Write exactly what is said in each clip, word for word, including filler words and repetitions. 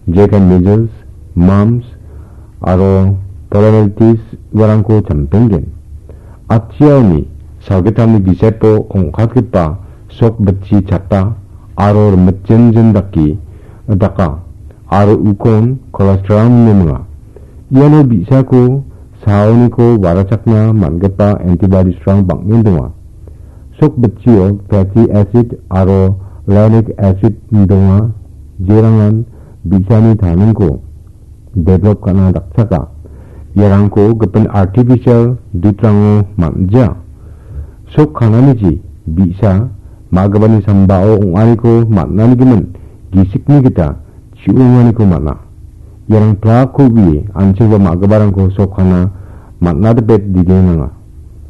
jekai measles, mumps aro poliomyelitis uarangko champengen. Atchiaoni salgittamni gisepo ong·katgipa sok bitchi chata aro rimitjinjin dake daka aro ukon colostrum ine minga. Iano bi·sako saoniko warachakna man·gipa antibodies-rang bang·en donga. Sok bitchio fatty acid aro lactic acid donga, jerangan bi·sani taningko develop ka·na dakchaka. Iarangko gipin artificial dudrango man·ja. Sok kananichi bi·sa ma·gipani sambao ong·aniko man·ani gimin gisikni gita chi·onganiko man·a. Iarang plakko u·ie an·chingba ma·giparangko sok kana man·a dipet digenanga.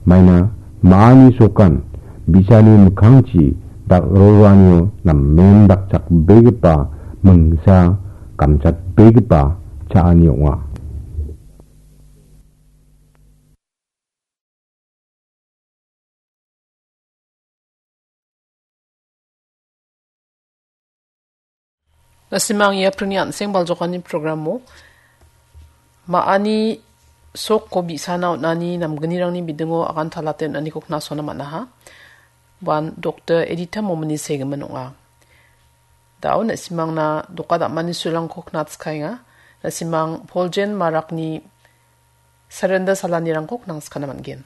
Maina ma·ani sokan bi·sani mikkangchi dal·roroanio namen dakchakbegipa mingsa gamchatbegipa cha·ani ong·a. Na·simang ia pringni an·seng baljokani programo ma·ani sokko bi·sana on·ani namgnirangni bidingo agan talate on·aniko knasona man·aha. Uan Doktor Edita Momini segimin ong·a. Da·o na·simangna doka dam·ani sulrangko knatskaenga. Na·simang Poljen Marakni Surrender salanirangko knangskana man·gen.